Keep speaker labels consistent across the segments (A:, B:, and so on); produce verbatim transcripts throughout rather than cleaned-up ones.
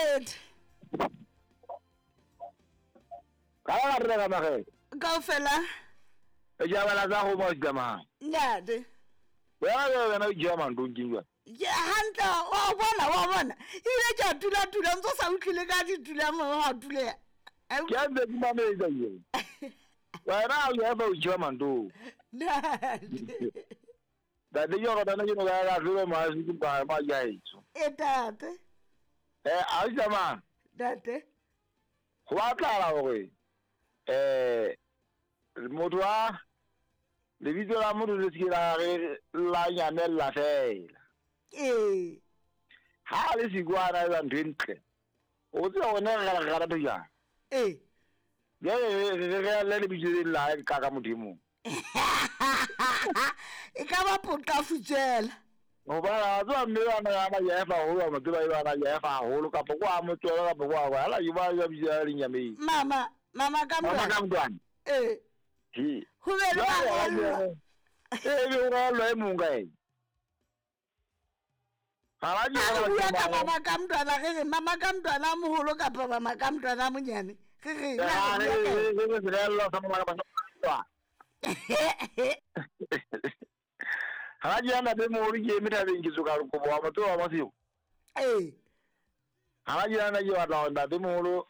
A: Mokgethi.
B: Ka la re ka magele.
A: Kaofela.
B: E ja bala tsa go mo tsamaya.
A: Ntate.
B: Wena le wena o jea mandong ke jwang?
A: Ke hantle wa bona wa bona. Ebile ke a tula tula ntse o sa utlwile ka ditula mo ha tuleha.
B: Ke a ntse ke mametse ke. Wena o ya ba o jea mandong.
A: Ntate.
B: Ntate ke gore bana ke no ka ka tlolo ma se ke ba ma ya etso.
A: E tate.
B: Eh a o tsamaya.
A: Ntate.
B: Go batlahala hore eh motho wa lebitso la motho le se ke la re la nyamella fela.
A: Ee.
B: Ha le siko a na etsa ntho e ntle. O tseba hore ne re re rata jwang.
A: Ee.
B: Jwale re re le lebitso le la ka ka Modimo.
A: E ka ba poqa futsela.
B: Hobane a tseba mme bana ya ba ya fa haholo, mo tseba e bana ya fa haholo kapa kwa mo tswela kapa kwa kwa. Hala ke ba ya bitsa le nyameng.
A: Mama, mama ka
B: Mama
A: mntwana.
B: ka mntwana.
A: Ee.
B: He.
A: Ho be le
B: Jwale ha
A: barellwa.
B: Eh be o rellwa e mong ka ena. Ha ba
A: Ha re
B: ke
A: bua ka mama ka mntwana re re mama ka mntwana a moholo kapa mama ka mntwana a monyane. Re re na
B: Ha
A: re
B: re
A: bua ka eng?
B: re re serellwa sa mama ka mntwana. Ha ke ana be moholo ke eme thabeng ke tsoka kobo wa motho wa masiu.
A: Ee.
B: Ha ke ana ke batla hore ntate moholo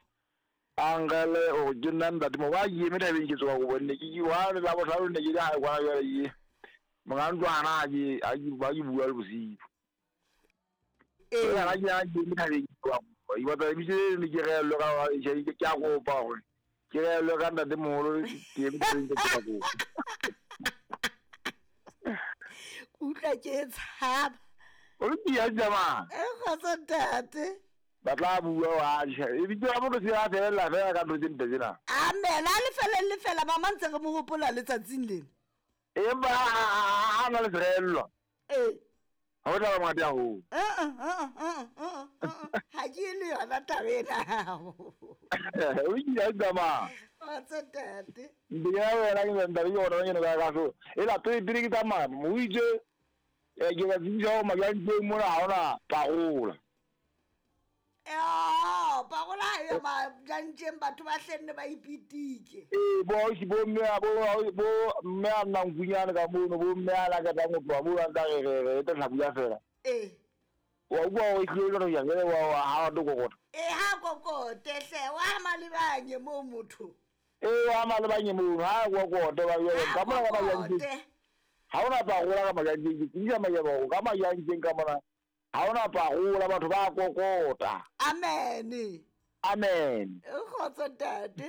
B: a nkele hore ke nna ntate moholo. Wa ke eme thabeng ke tsoka kobo nne ke ke wa le la bohlano nne ke le hae kwana jwale ke monga ntlo hana ha ke ha ke ba ke bua le bosiu.
A: Ee.
B: Ha ke ana ke eme thabeng ke tsoka kobo. Ke batla lebitso le le ke rehellwe ka ke ke a kopa hore ke rehellwe ka ntate moholo ke eme thabeng ke tsoka kobo.
A: Utlwa ke e tshaba.
B: O le ke ya tsamaya.
A: E kgotso ntate.
B: Ba tla bua wa tjhe. Lebitso la motho se a fella fela ka ntho tse ntle tsena.
A: Amen. A le fele le fela mama ntse re mo hopola letsatsing lena.
B: Empa ha na le serellwa.
A: Ee.
B: Ha o tla ba mongata haholo.
A: Eh eh eh eh eh. Ha ke le yona taba ena.
B: O ke ya tsamaya.
A: Kgotso ntate.
B: Ndi ya wena ke ntate ke yona ke no ka ka so. E la pele pele ke tsamaya mo itse eh ke ba tsebisa hore majanteng mona ha hona parola.
A: Eo, parola ha eyo majanteng batho ba hlenne ba ipitike.
B: Ee, bo ausi bo mme a bo bo mme a nnang nkunyane ka mono, bo mme a lakatang ho tloha moo a ntsa re re re tla hlabula fela.
A: Ee.
B: Wa utlwa hore e tlile jwalo jwang, jwale wa wa ha o kokota.
A: Ee, ha kokote hle, wa malebanye moo motho.
B: Ee, wa malebanye moo, ha kokote ba jwale
A: Ha
B: ka mona ka majanteng.
A: kokote.
B: Ha hona parola ka majanteng, ke tsebisa majaba hore ka majanteng ka mona ha hona parola batho ba kokota.
A: Amen.
B: Amen.
A: Kgotso ntate.